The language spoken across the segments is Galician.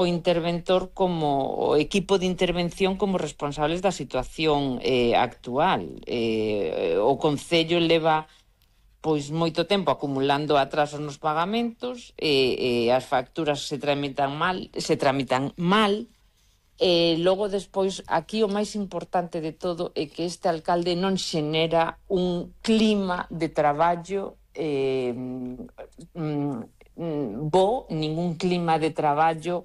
o interventor como o equipo de intervención como responsables da situación actual. O Concello leva pois moito tempo acumulando atrasos nos pagamentos, as facturas se tramitan mal. Logo, despois, aquí o máis importante de todo é que este alcalde non xenera un clima de traballo bo, ningún clima de traballo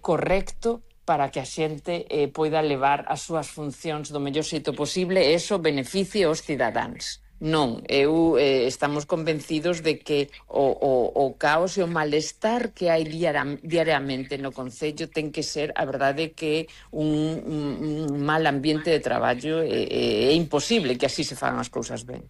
correcto para que a xente poida levar as súas funcións do mellor xeito posible e eso beneficie aos cidadáns. Non, estamos convencidos de que o caos e o malestar que hai diariamente no Concello ten que ser, a verdade, que un mal ambiente de traballo é imposible que así se fagan as cousas ben.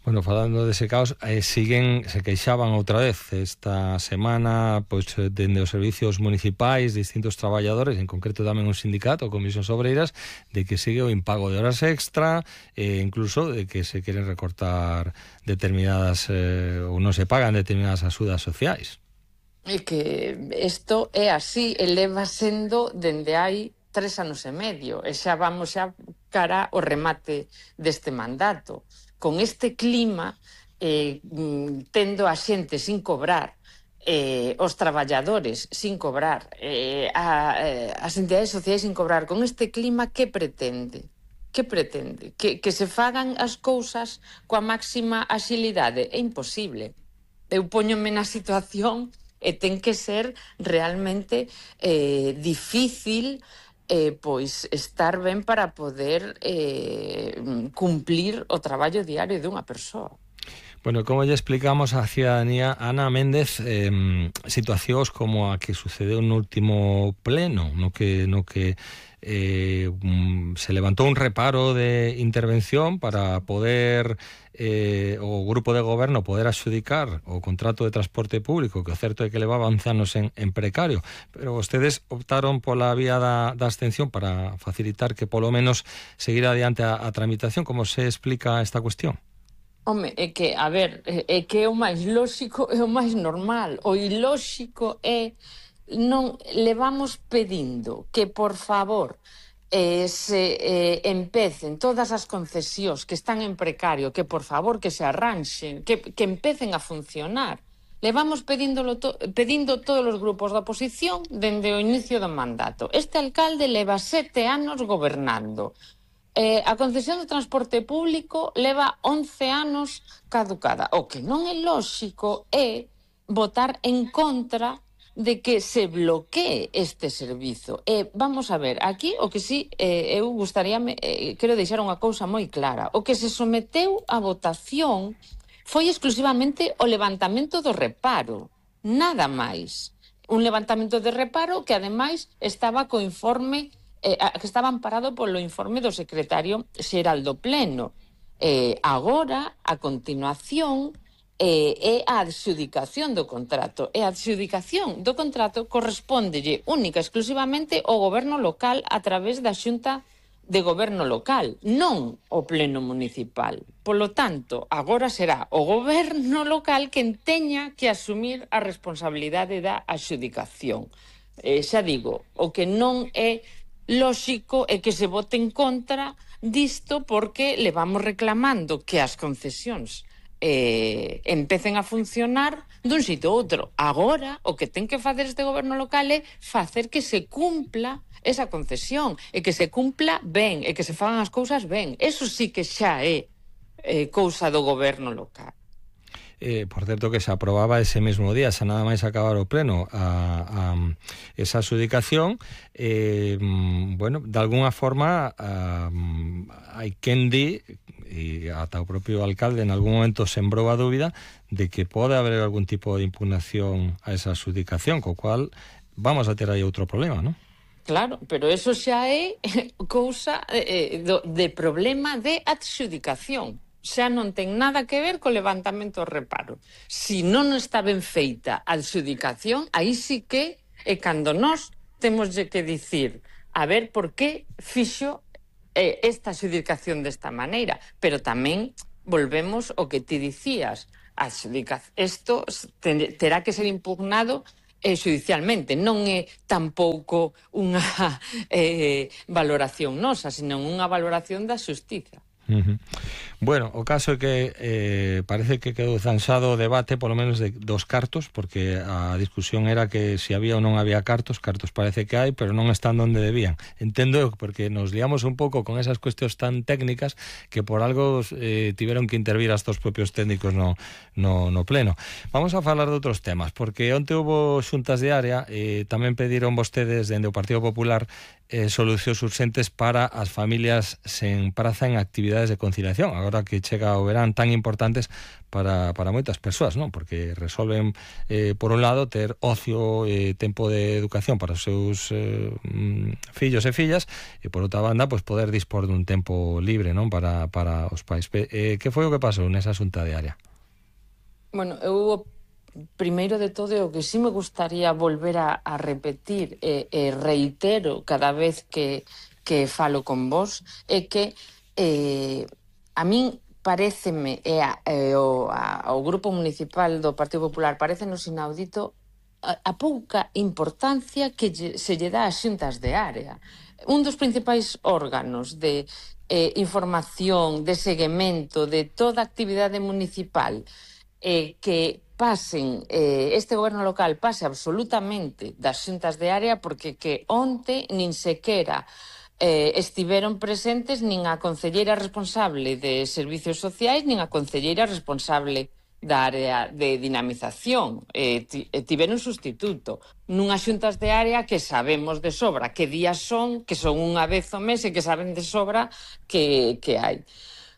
Bueno, falando dese caos, se queixaban outra vez esta semana pois dende os servicios municipais, distintos traballadores, en concreto tamén un sindicato, Comisións Obreiras, de que sigue o impago de horas extra, incluso de que se queren recortar determinadas ou non se pagan determinadas axudas sociais. É que isto é así, leva sendo dende hai 3 anos e medio, e xa vamos xa cara ao remate deste mandato. Con este clima, tendo a xente sin cobrar, os traballadores sin cobrar, as entidades sociais sin cobrar, con este clima, que pretende? Que pretende? Que se fagan as cousas coa máxima axilidade? É imposible. Eu póñome na situación e ten que ser realmente difícil pois estar ben para poder cumplir o traballo diario dunha persoa. Bueno, como lle explicamos á cidadanía, Ana Méndez, situacións como a que sucedeu no último pleno, no que se levantou un reparo de intervención para poder o grupo de goberno poder adxudicar o contrato de transporte público, que o certo é que levaba 11 anos en precario, pero vostedes optaron pola vía da abstención para facilitar que polo menos seguir adiante a tramitación. Como se explica esta cuestión? Home, é que, a ver, é que é o máis lóxico e o máis normal. O ilóxico é non levamos pedindo que, por favor, se empecen todas as concesións que están en precario, que, por favor, que se arranxen, que empecen a funcionar. Levamos pedindo todos os grupos da oposición dende o inicio do mandato. Este alcalde leva 7 anos gobernando. A concesión do transporte público leva 11 anos caducada. O que non é lóxico é votar en contra de que se bloquee este servizo. Vamos a ver, aquí o que sí, eu gustaríame, quero deixar unha cousa moi clara. O que se someteu a votación foi exclusivamente o levantamento do reparo, nada máis. Un levantamento de reparo que, ademais, estaba co informe que estaba amparado polo informe do secretario xeral do Pleno. Agora, a continuación, é a adxudicación do contrato. E a adxudicación do contrato correspóndelle única e exclusivamente ao goberno local a través da Xunta de Goberno Local, non o Pleno Municipal. Polo tanto, agora será o goberno local quen teña que asumir a responsabilidade da adxudicación. Xa digo, o que non é lóxico é que se vote en contra disto, porque levamos reclamando que as concesións empecen a funcionar dun xeito ou outro. Agora, o que ten que facer este goberno local é facer que se cumpla esa concesión, e que se cumpla ben, e que se fagan as cousas ben. Eso sí que xa é cousa do goberno local. Por certo, que se aprobaba ese mesmo día, xa nada máis acabar o pleno, esa adxudicación. Bueno, de alguna forma hai quen di, e ata o propio alcalde en algún momento sembrou a dúbida de que pode haber algún tipo de impugnación a esa adxudicación, co cual vamos a ter aí outro problema, non? Claro, pero eso xa é cousa de problema de adxudicación. Xa non ten nada que ver co levantamento do reparo. Si non está ben feita a adxudicación, aí sí que é cando nós temos que dicir a ver por que fixo esta adxudicación desta maneira. Pero tamén volvemos ao que ti dicías. Isto terá que ser impugnado xudicialmente. Non é tampouco unha valoración nosa, senón unha valoración da xustiza. Bueno, o caso é que parece que quedou zanxado o debate polo menos dos cartos, porque a discusión era que se había ou non había cartos parece que hai, pero non están onde debían. Entendo eu, porque nos liamos un pouco con esas cuestións tan técnicas que por algo tiveron que intervir hasta os propios técnicos no pleno. Vamos a falar de outros temas, porque onte houve xuntas de área, tamén pediron vostedes dende o Partido Popular solucións urxentes para as familias sen praza en actividades de conciliación, agora que chega o verán tan importantes para moitas persoas, non? Porque resolven, por un lado, ter ocio e tempo de educación para os seus fillos e fillas, e por outra banda, pues, poder dispor dun tempo libre, non? Para os pais. Que foi o que pasou nesa xunta de área? Bueno, eu primeiro de todo, o que sí me gustaría volver a repetir e reitero cada vez que falo con vos é que a min paréceme ao Grupo Municipal do Partido Popular parécenos inaudito a pouca importancia que se lle dá ás xuntas de área. Un dos principais órganos de información, de seguimento de toda a actividade municipal que pasen, este goberno local pase absolutamente das xuntas de área, porque que onte nin sequera estiveron presentes nin a concelleira responsable de Servicios Sociais nin a concelleira responsable da área de dinamización. Tiveron sustituto nunhas xuntas de área que sabemos de sobra que días son, que son unha vez ao mes e que saben de sobra que hai.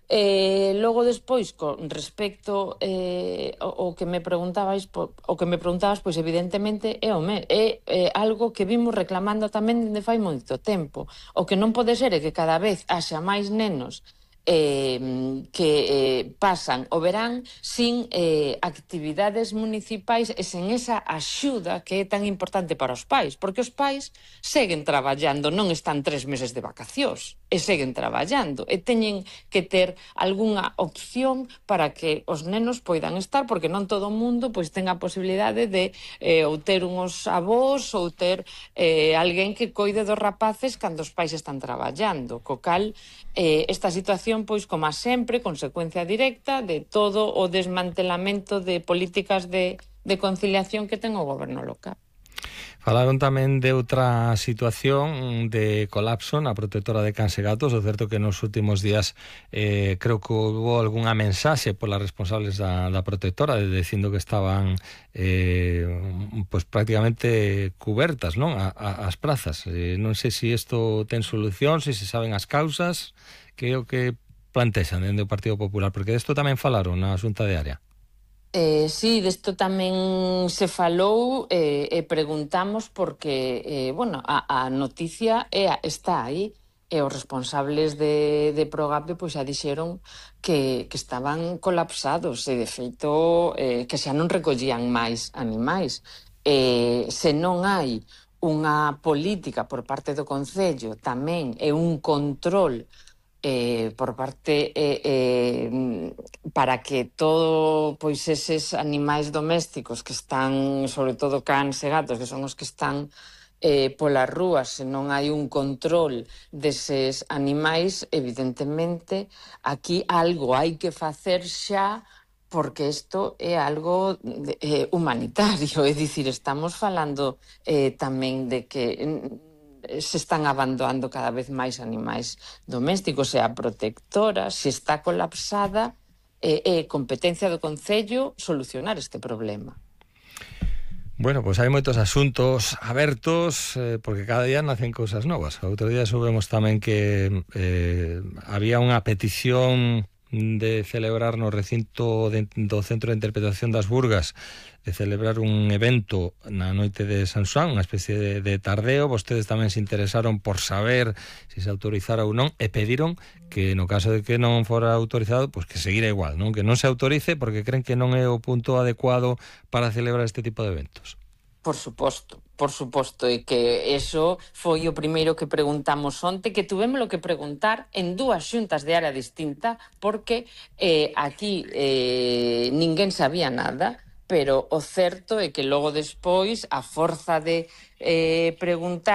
Logo despois, con respecto o que me preguntabas, pois evidentemente é algo que vimos reclamando tamén dende fai moito tempo. O que non pode ser é que cada vez haxa máis nenos que pasan o verán sin actividades municipais e sen esa axuda que é tan importante para os pais, porque os pais seguen traballando, non están 3 meses de vacacións, e seguen traballando, e teñen que ter algunha opción para que os nenos poidan estar, porque non todo o mundo pois ten a posibilidade de ou ter unhos avós ou ter alguén que coide dos rapaces cando os pais están traballando, co cal esta situación, pois, como sempre, consecuencia directa de todo o desmantelamento de políticas de conciliación que ten o goberno local. Falaron tamén de outra situación de colapso na protectora de cans e gatos. O certo que nos últimos días creo que houve algunha mensaxe polas responsables da protectora dicindo que estaban pues prácticamente cubertas, non? As prazas. Non sei se isto ten solución, se saben as causas, que é o que plantexan dende o Partido Popular, porque desto tamén falaron na Xunta de Área. Sí, desto tamén se falou e preguntamos porque, bueno, a noticia está aí e os responsables de Progape pois xa dixeron que estaban colapsados e, de feito, que xa non recollían máis animais. Se non hai unha política por parte do Concello tamén e un control por parte para que todo pois eses animais domésticos que están, sobre todo cans e gatos, que son os que están polas rúas, se non hai un control deses animais, evidentemente aquí algo hai que facer xa, porque isto é algo humanitario, é dicir, estamos falando tamén de que se están abandonando cada vez máis animais domésticos e a protectora, se está colapsada, é competencia do Concello solucionar este problema. Bueno, pois hai moitos asuntos abertos porque cada día nacen cousas novas. Outro día soubemos tamén que había unha petición de celebrar no recinto do Centro de Interpretación das Burgas, de celebrar un evento na noite de San Xoán, unha especie de tardeo. Vostedes tamén se interesaron por saber se se autorizara ou non e pediron que no caso de que non fora autorizado, pois que seguira igual, non? Que non se autorice porque creen que non é o punto adecuado para celebrar este tipo de eventos. Por suposto, e que eso foi o primeiro que preguntamos onte, que tuvémolo que preguntar en dúas xuntas de área distinta, porque aquí ninguén sabía nada. pero o certo é que logo despois, a forza de preguntar